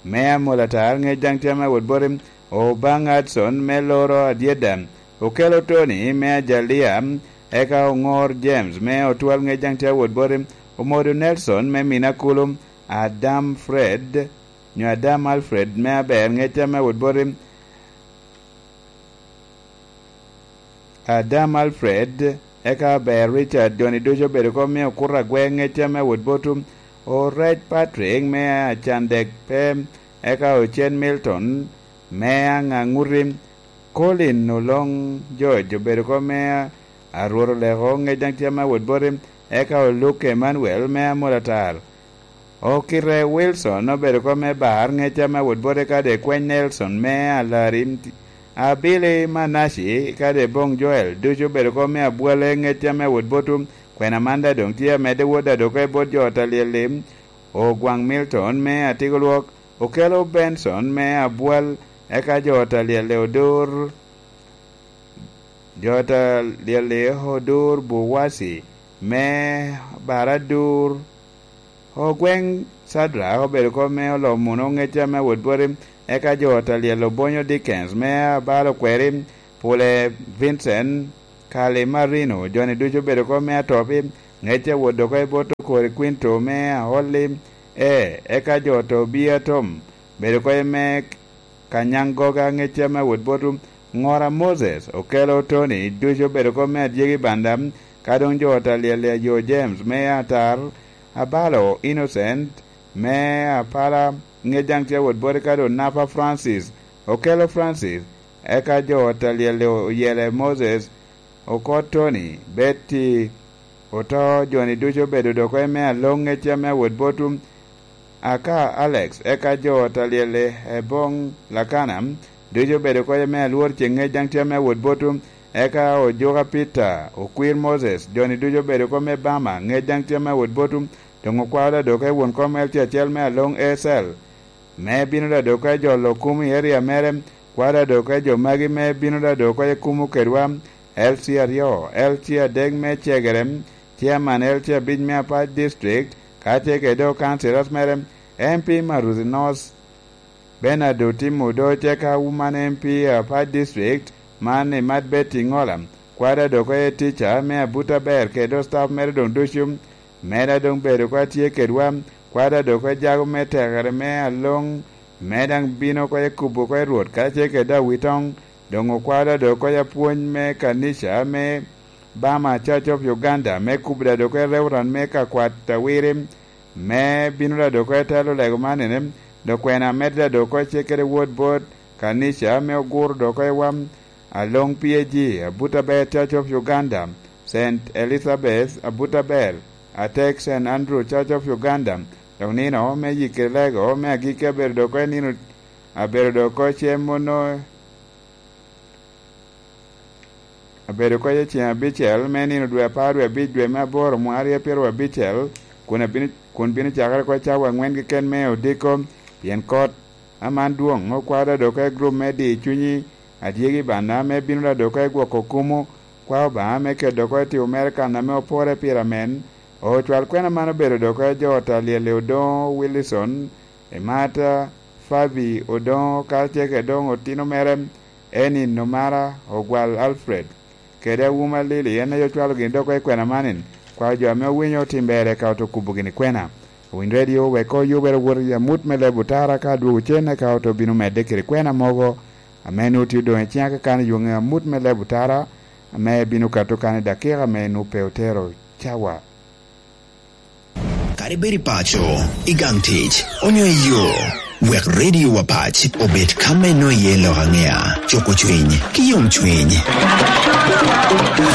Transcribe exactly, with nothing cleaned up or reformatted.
me Amolatar, ŋec daŋ tye ame awot boti, Obang Hudson me Loro Adyeda, Okello Tony me Ajalia, eka Oŋor James me Otwal, ŋec daŋ tye awot boti, Omodo Nelson me Minakulu, Adam Fred, nyo Adam Alfred me Aber, ŋec tye ame awot boti, Adam Alfred, eka Aber Richard, joni ducu obedo kom me Okuto Agwe, ŋec tye ame awot boti, Orec Patrick me Acandek pe, eka Ocen Milton me Aŋaŋuti, Colin Oloŋ George obedo kom me Arwot Oleko, ŋec daŋ tye ame awot boti, eka Oluk Emmanuel me Amolatar. Okite Wilson obedo kom me Bar, ŋec tye ame awot boti, kadi Kweny Nelson me Alari, Abili Manaci, kadi Boŋ Joel, ducu obedo kom me Abwale, ŋec tye ame awot boti, kwena man daŋ doŋ tye amedde wot daŋ doŋ oko i bot jo ot alyel-li, Ogwaŋ Milton me Atigolwok, Okello Benson me Abwal, eka jo ot alyel-li Odur, jo ot alyel-li Odur Buwasi me Baradur, Ogweŋ Cadrak obedo kom me Olomuno, ŋec tye ame awot boti, eka jo ot alyel Obonyo Dickens me Abalo Kweri, Pule Vincent, Kali Marino, joni ducu obedo kom me Atopi, ŋec tye awot doŋ oko i bot Okori Quinto me Aolli, e, eka jo ot Obia Tom, bedo kom me Kanyaŋ Goga, ŋec tye ame awot boti, Ŋora Moses, Okello Tony, ducu obedo kom me Adyegi Banda, ka doŋ jo ot alyel-li Ayo James me Atar, Abalo Innocent me Apala, ŋec daŋ tye awot boti, ka doŋ Napa Francis, Okello Francis, eka jo ot alyel-li Oyele Moses, Okot Tony, Betty Oto, joni ducu obedo doŋ oko i me Aloŋ, ŋec tye ame awot boti, Aka Alex, eka jo ot alyel-li Eboŋ Lakana, ducu obedo oko i me Alwor Ceŋ, ŋec daŋ tye ame awot boti, eka Ojuka Peter, Okwir Moses, joni ducu obedo oko me Bama, ŋec daŋ tye ame awot boti, doŋ okwao daŋ doŋ oko i won kom L C acel me Aloŋ Acel, me bino daŋ doŋ oko i jolo kum i eria mere, kwao daŋ doŋ oko i jo magi me bino daŋ doŋ oko i kumo kedwa, L C aryo, L C adek me Cegere, Chairman L C abic me Apac District, ka tye kede doŋ councillors mere, M P Maruthi North, Bernard Otim Odoc, eka Woman M P Apac District, man i Mad Betty Ŋola, kwao daŋ doŋ oko i teacher me Abuta Ber kede doŋ staff mere doŋ ducu, me daŋ doŋ bedo oko atye kedwa, kwao daŋ doŋ oko i jago me tekere me Aloŋ, me daŋ bino oko i kubo oko i Rwot, karacel kede Awitoŋ, doŋ okwao daŋ doŋ oko i apwony me kanica me Bama Church of Uganda, me kubo daŋ doŋ oko i Reverend me Kakwat Awiri, me bino daŋ doŋ oko i telo lego man ene, doŋ kwena med daŋ doŋ oko i cik kede wod bot kanica, me oguro doŋ oko i wam Aloŋ P A G, Abuta Ber Church of Uganda, Saint Elizabeth, Abuta Ber, Atek, Saint Andrew Church of Uganda, doŋ nino me yikki lego me agikki abedo doŋ oko i nino, abedo doŋ oko cem ono, abedo oko i ceŋ abicel me nino dwe apar dwe abic dwe me aboro mwaka aryo pyeraryo abicel, kun abino, kun bino cakere oko cawa aŋwen keken me odiko, pien kot aman dwoŋ okwao daŋ doŋ oko i gurup me di cunyi, adyegi bana me bino daŋ doŋ oko i gwoko kumo, kwao Obaŋa me keto doŋ oko i timo mere kan ame opore pire amen. Ocwal kwena man obedo doŋ oko i jo ot alyel-li Odoŋo Wilson, Emata Fabi Odoŋo, karacel kede doŋ otino mere, Enin Omara, Ogwal Alfred, kede Awuma Lili, en aye ocwalo gin doŋ oko i kwena man-ni. Kwao jo ame owinyo otim ber eka oto kubo gini kwena. Owiny Radio wek oyubere wot i amut me leb otara, ka adwogo cen eka oto bino medde kede kwena mogo ame nwoŋo tye odoŋ i ciŋa kakan i yoŋe amut me leb otara, ame bino kato kan i dakika ame nwoŋo pe otero cawa. Kadi bed i paco, i gang tic, onyo i yo, wek Radio Wapac obed ka me nwoŋo iye lok aŋea, cuko cwiny, ki yom cwiny.